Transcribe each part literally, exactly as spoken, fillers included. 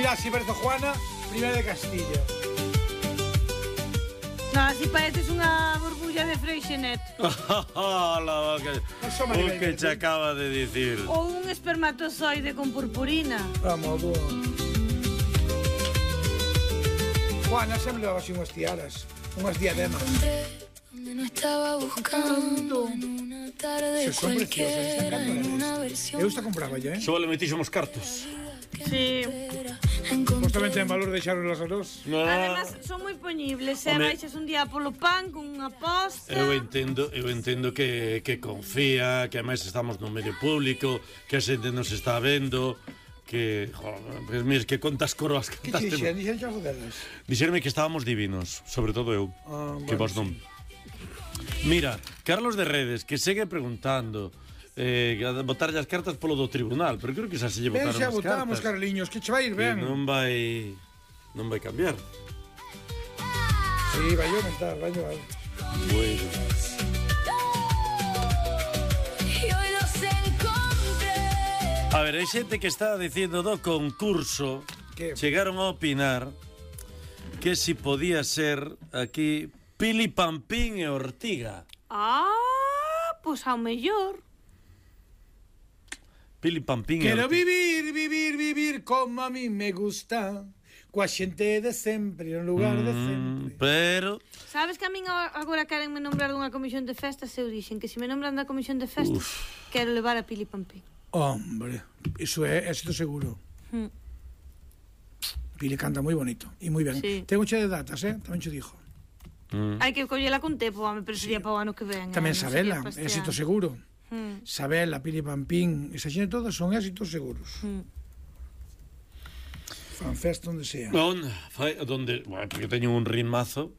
Mira, así parece Juana, primera de Castilla. No, así pareces unha burbulla de Freixenet. La que, o que che acaba de dicir. Ou un espermatozoide con purpurina. Vamos, tú. Juana sempre levaba así unhas tiaras, unhas diademas. Donde no estaba buscando en una tarde cualquiera en una versión. Eu esta compraba ya, eh? Só le metixemos cartos. Sí. Justamente en valor deixaronlas a nós. No. Además, son moi poñibles. Se Home. baixas un día polo pan con unha posta. Eu entendo, eu entendo que, que confía, que ademais estamos no medio público, que a xente nos está vendo, que, joder, pues, mira, que contas coroas Que cantaste. te dixen? Dixen xas delas? Dixerme que estábamos divinos, sobre todo eu, Ah, que bueno, vos non. Mira, Carlos de Redes, que segue preguntando eh, a botarlle as cartas polo do tribunal, pero creo que xa se lle Ben, botaron xa as votamos, cartas. Carliños, que che vai ir Que ben. non vai non vai cambiar. Sí, vai aumentar, vai aumentar. Bueno. Y hoy los encontré. A ver, hai xente que está dicindo do concurso, Que? chegaron a opinar que si podía ser aquí Pili Pampín e Ortiga. Ah, pois ao mellor. Pili Pampín e Quero Ortiga. vivir, vivir, vivir como a mí me gusta, coa xente de sempre, en lugar de Mm, sempre. pero Sabes que a min agora querenme nombrar dunha comisión de festas e eu dixen que se me nombran da comisión de festas Uf. quero levar a Pili Pampín. Hombre, iso é éxito seguro. Hmm. Pili canta moi bonito e moi ben. Sí. Ten mucha de datas, eh? Tamén che dixo. mm, Hai que collela con tempo, home, pero sería para o ano que ven. Tamén eh, non Sabela, sería para este éxito ano. seguro. Hmm. Sabela, Pili Pampín, esa xente todas son éxitos seguros. Hmm. Fan festa onde sea. onde, fai, donde, bueno, porque teño un ritmazo.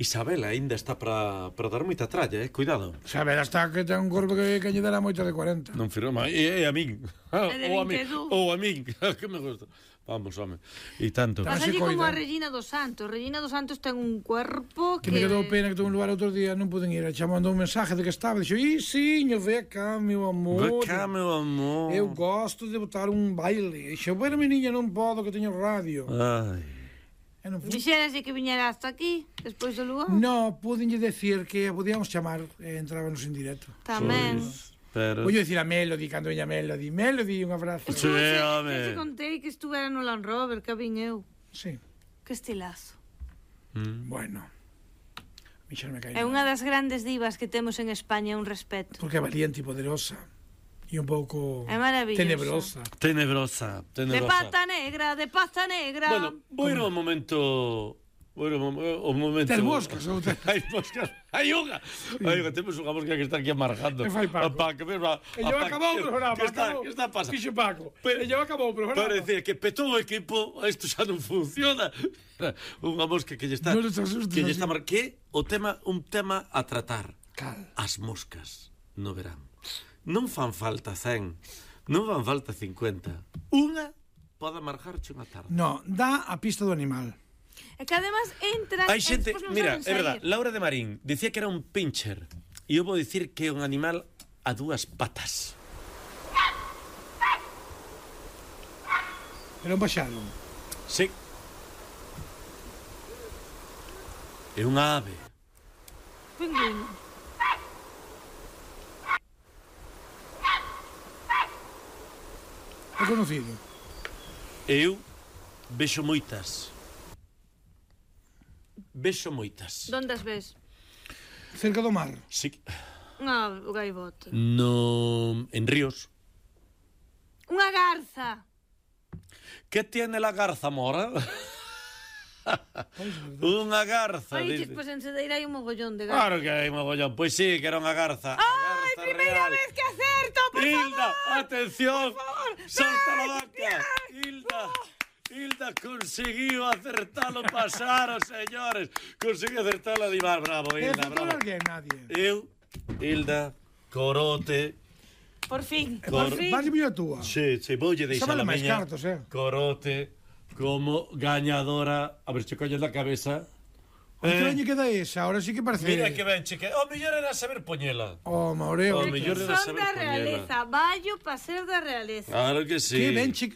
Isabela aínda está para para dar moita tralla, eh, cuidado. Sabela está que ten un corpo que, que lle dará moito de cuarenta. Non firma, e, e a min. de ou a min, vinte e dous. ou a min, que me gusta. Vamos, home. E tanto. Tamén Pasa se como coida. a Regina dos Santos. Regina dos Santos ten un cuerpo Que que... me quedou pena que tuve un lugar outro día, non puden ir. Xa mandou un mensaje de que estaba, dixo, "Ih, siño, ve acá, meu amor. Ve cá, meu amor. Eu gosto de botar un baile." Dixo, "Bueno, mi niña, non podo que teño radio." Ai. E non fui. Dixerase que viñera hasta aquí, despois do lugar. No, pudenlle decir que a podíamos chamar e entrábamos en directo. Tamén. Pero Vou dicir a Melody, cando veña Melody. Melody, un abrazo. Sí, Estuve, home. que te contei que estuvera no Land Rover, que vin eu. Sí, Que estilazo. mm. bueno. A mí xa non me cae É nada. unha das grandes divas que temos en España, un respeto. Porque é valiente e poderosa. E un pouco É maravillosa. tenebrosa. Tenebrosa, De tenebrosa. pata negra, de pata negra. Bueno, vou ir ao momento. Bueno, o momento. Tes moscas ou te- Hai moscas. Hai unha. Hai unha, temos unha mosca que está aquí amargando. E fai Paco. A Paco, mesma. E yo acabou o programa. Que está, acabou. que está pasando? Fixo Paco. Pero- E yo acabou o programa. Parecía que petou o equipo, isto xa non funciona. Unha mosca que lle está Non te asustes, que lle así. está mar... que o tema un tema a tratar. Cal. As moscas no verán. Non fan falta cen, non fan falta cincuenta. Unha pode amargarche unha tarde. No, dá a pista do animal. E que además entran... Hai e xente, despois non mira, saben é verdad, saír. Laura de Marín dicía que era un pincher. E eu vou dicir que é un animal a dúas patas. Era un paxaro. Sí. É unha ave. Pingüino. É conocido. Eu vexo moitas. Vexo moitas. Donde as ves? Cerca do mar. Sí. Unha gaivota. No, en ríos. Unha garza. ¿Qué tiene la garza, mora? Unha garza. Ai, dice. pois en Cedeira hai un mogollón de garzas. Claro que hai mogollón. Pois sí, que era unha garza. Ai, primeira vez que acerto, por Hilda, favor. atención. Por favor. Salta la Ay, vaca. Hilda. Hilda conseguiu acertalo, pasaron, señores. Conseguiu acertalo a Divar. Bravo, É Hilda, futuro bravo. alguén, nadie. Eu, Hilda, corote. Por fin, Cor- por fin. Vas a a túa. Sí, sí, voulle Xa deixar vale a máis miña cartos, eh. corote como gañadora. A ver, che colles da cabeza. Que Eh, daño queda esa? Ahora sí que parece... Mira que ben, cheque. O mellor era saber poñela. Oh, Maureo. Oh, mellor era Son saber da poñela. realeza, vallo para ser da realeza. Claro que sí. Que ben che...